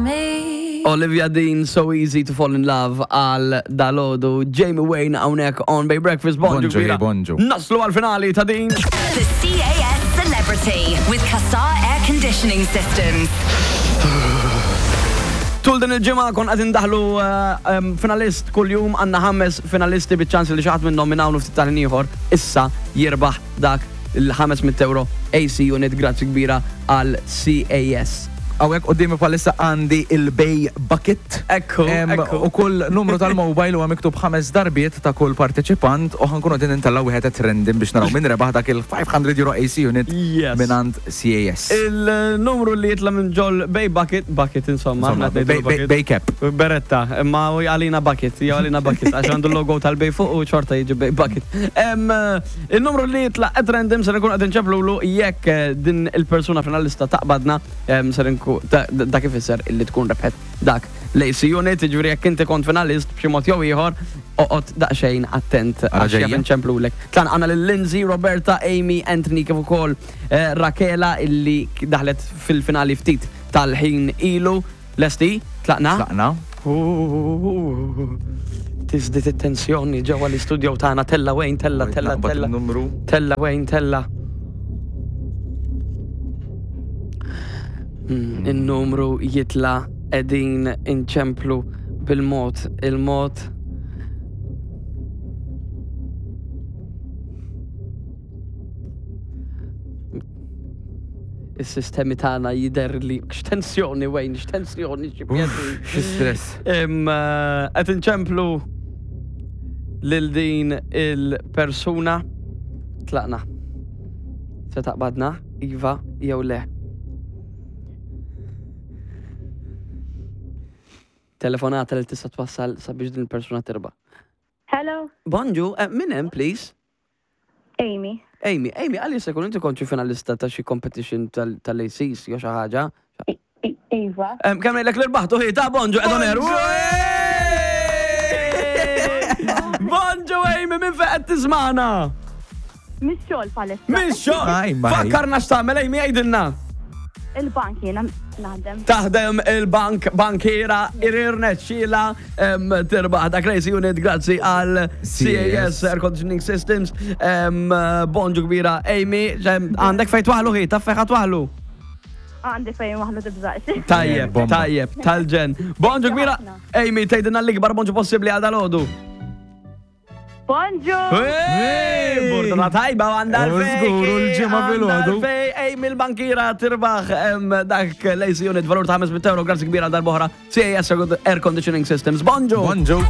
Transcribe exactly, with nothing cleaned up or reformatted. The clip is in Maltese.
me. Olivia Dean, So Easy to Fall in Love għal dalgħodu. Jamie Wayne hawnhekk on Bay Breakfast. Bonġu, Bonġu, kbira. hey, bonġu. Naslu għal-finali ta' din. The C A S Celebrity with Casar Air Conditioning Systems. Tul din il-ġimgħa konna qed indaħlu eh, em, finalist kull-jum. Għandna ħames finalisti biċ-ċans li xi ħadd minnhom minn hawn u ftit tal ieħor issa jirbaħ dak il-ħames mitt euro A C unit. Grazzi kbira għal C A S. Hawnhekk quddiemi bħalissa għandi il-Bay Bucket. Ekku, Em, ekku. U kull numru tal-mobile huwa miktub ħames darbiet ta' kull parteċipant u ħa nkunu din intellgħu wieħed at random biex naraw min rebaħ dak il-ħames mija euro A C unit Yes. mingħand C A S. Il-numru li jitla minn ġol Bay Bucket, bucket insomma, Insomma, aħna qed ngħidu Bay- bucket. Bay Cap. Beretta, imma u għalina bucket, jew għalina bucket, għax għandu l-logo tal-Bay fuq u xorta jiġi Bay Bucket. Em, eh, Il-numru li jitla at random ser nkun qed inċemplulu. Jekk eh, din il-persuna finalista taqbadna, em, ser nku ta- dak ifisser illi tkun rebħet dak l-A C unit, ġifieri jekk inti kont finalist b'xi mod jew ieħor, oqgħod daqsxejn attent għax ġejja. jaf inċemplulek. Tlan għandna lil Lindsay, Roberta, Amy, Anthony kif ukoll eh, Rakela illi daħlet fil-finali ftit tal-ħin ilu. Lesti? Tlaqna? Tlaqna. Tiżdied it-tensjoni ġewwa l-istudio tagħna. Tella wejn, tella, tella, Naqbad tella. il-numru. Tella wejn, tella. Hmm, Il-numru jitla, qegħdin inċemplu bil-mod, il-mod. Is-sistemi tagħna jidher li x'tensjoni wejn, x'tensjoni, xi pjaċir. Xi stress. Em, eh, Qed inċemplu lil din il-persuna. Tlaqna. Se taqbadna, iva jew le? Telefonata li tista' twassal sabiex din il-persuna tirbaħ. Hello, Bonġu, eh, min hemm, please? Amy. Amy, Amy, għalli se kun inti konċi finalista ta' xi competition tal- tal-A Cs jew xi ħaġa. I- I- Iva. Em, Kemm ngħidlek li rbaħtu hi ta' bonġu qed on air. Bonġu Amy, minn fejn qed tismagħna? Mix-xogħol bħalissa. Mix-xogħol. Aj, ma hi. Fakkarna x'tagħmel, Amy, għidilna. Il-bank jiena naħdem. Taħdem il-bank, bankiera, irnexxielha tirbaħ dak l-A C unit grazzi għal C A S Air Conditioning Systems. Em, Bonġu kbira, Amy, em, għandek fejn twaħlu hi, taf fejn twaħlu? Għandi fejn waħlu, tibżax. Tajjeb, Bomba. tajjeb, tal-ġenn. Bonġu kbira, Amy, tgħidilna l-ikbar bonġu possibbli għal dalgħodu. Bonġu! Hey! Burdata tajba għandha U l-fej. żgur, u l-ġimgħa filgħodu. Fej, Amy l-bankiera tirbaħ em, dak l-A C unit valur ta' ħames mitt euro, grazzi kbira darb'oħra. C A S Air Conditioning Systems. Bonġu! Bonġu.